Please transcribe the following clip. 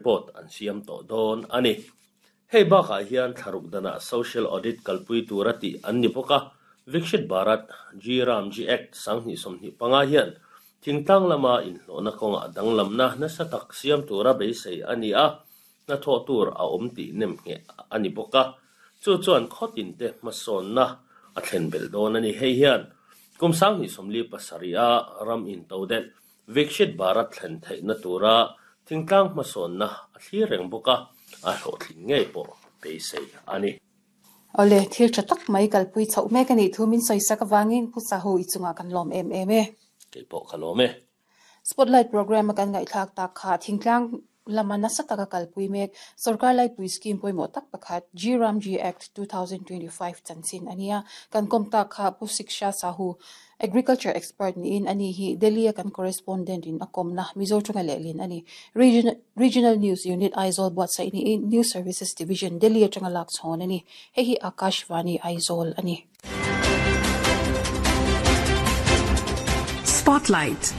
Report an siam tawh dawn a ni. Hei bakah hian thlaruk danah Social Audit kalpui tura tih an ni bawk a, Vikshit Bharat, G Ram G Act 2025 hian thingtlang lama inhlawhna kawngah danglamna nasa tak siam tura beisei a ni a, hnathawh tur a awm tih nem ngheh a ni bawk a, chu chuan khawtinte hmasawnna a thlen belh dawn a ni. Hei hian kum 2047 a ram intodelh Vikshit Bharat thlen theihna tura thingtlang hmasawnna a thlir reng bawk a, a hlawhtling ngei pawh beisei a ni. Awle, thil tha tak mai kalpui chhoh mek a nih thu min sawisak avangin Pu Sahu i chungah kan lawm em em e. Kei pawh ka lawm e. Spotlight Programme a kan ngaihthlak tak kha thingtlang lama nasa taka kalpui mek Sorkar Laipui Scheme pawimawh tak pakhat G-Ramji Act 2025 chanchin a nia. Kan kawm tak kha Pu Siksha Sahu, Agriculture Expert niin a ni hi Delhi a kan Correspondent in a kawmna Mizo tawnga lehlin a ni. Regional News Unit Aizawl buatsaih niin News Services Division Delhi atanga lak chhawn a ni. Hei hi Akashvani Aizawl a ni. Spotlight.